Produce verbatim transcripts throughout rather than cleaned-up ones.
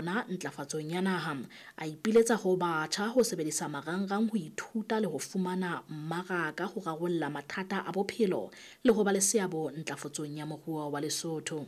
bona ntlafatsong ya naha. A ipiletsa ho batjha ho sebedisa marangrang ho ithuta le ho fumana mmaraka ho rarolla mathata a bophelo le ho ba le seabo ntlafatsong ya moruo wa Lesotho.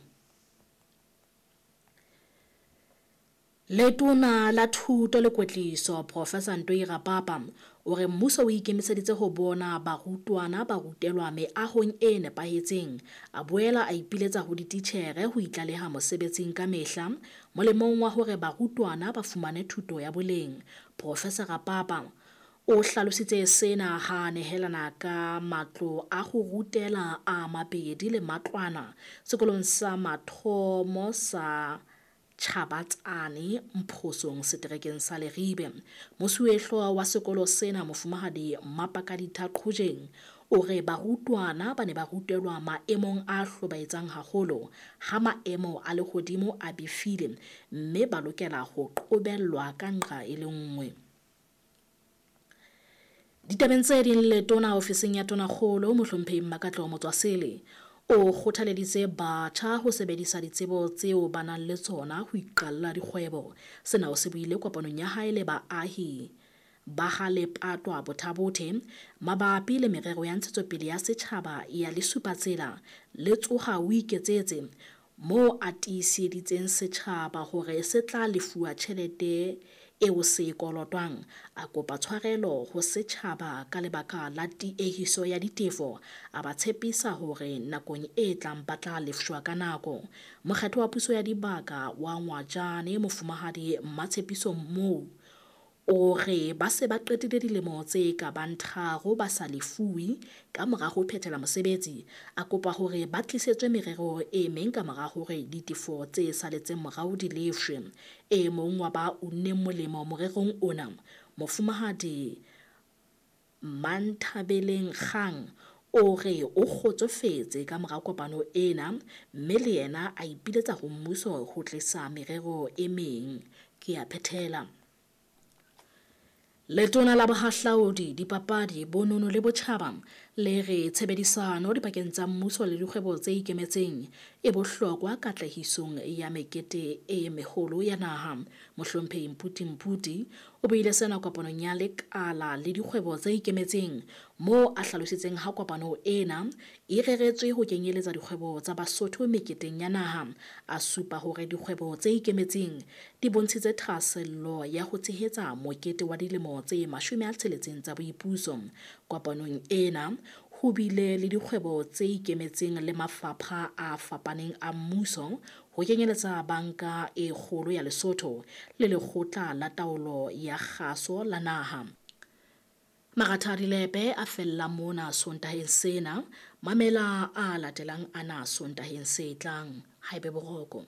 Letona la Thuto le Kwetliso Professor Ntoi Rapapa o re mmuso o ikemiseditse ho bona barutwana ba rutelwa meahong e nepahetseng. A boela a ipiletsa ho dititjhere ho itlaleha mosebetsing ka mehla molemong wa hore barutwana ba fumane thuto ya boleng. Professor Rapapa o hlalositse sena ha nehelana ka matlo a ho rutela a mabedi le matlwana sekolong sa mathomo sa Chabatsane Mphosong seterekeng sa Leribe. Mosuwehlooho wa sekolo sena Mofumahadi Mapakaditha Qhojeng o re barutwana ba ne ba rutelwa maemong a hlobaetsang haholo ha maemo a lehodimo a befile mme ba lokela ho qobellwa ka nqa e le nngwe. Ditabeng tse ding, letona ofising ya Tonakgolo Mohlomphehi Mmakatleho Motswasele o kgothaleditse batjha ho sebedisa ditsebo tseo ba nang le tsona ho iqalla dikgwebo. Sena o se buile kopanong ya hae le baahi ba ha Lepatwa Bothabothe mabapi le merero ya ntshetsopele ya setjhaba ya Lesupatsela le Tsoha o Iketsetse, moo a tiiseditseng setjhaba hore se tla lefuwa tjhelete eo se e kolotwang. A kopa tshwarelo ho setjhaba ka lebaka la tiehiso ya ditefo, a ba tshepisa hore nakong e tlang ba tla lefshwa ka nako. Mokgatlo wa puso ya dibaka wa Ngwajane Mofumahadi Mmatshepiso Mou o re ba se ba qetile dilemo tse ka bang tharo ba sa lefuwe ka mora ho phethela mosebetsi. A kopa hore ba tlisetswe merero e meng ka mora hore ditefo tse saletseng morao di lefshwe. E mong wa ba unneng molemo morerong ona, Mofumahadi Manthabeleng Kgang, o re o kgotsofetse ka mora kopano ena mme le yena a ipiletsa ho mmuso ho tlisa merero e meng. Ke a phethela. Letona la Bohahlaudi, Dipapadi, Bonono le Botjhaba le re tshebedisano dipakeng tsa mmuso le dikgwebo tse ikemetseng e bohlokwa katlehisong ya mekete e meholo ya naha. Mohlomphehi Mputi Mputi o buile sena kopanong ya lekala le dikgwebo tse ikemetseng moo a hlalositseng ha kopano ena e reretswe ho kenyeletsa dikgwebo tsa Basotho meketeng ya naha. A supa hore dikgwebo tse ikemetseng di bontshitse thahasello ya ho tshehetsa mokete wa dilemo tse mashome a tsheletseng tsa boipuso. Kopanong ena ho bile le dikgwebo tse ikemetseng le mafapha a fapaneng a mmuso ho kenyeletsa Banka e Kgolo ya Lesotho le Lekgotla la Taolo ya Kgaso la Naha. Maratha a dilepe a fella mona Sontaheng sena. Mamela a latelang ana Sontaheng se tlang. Haebe boroko.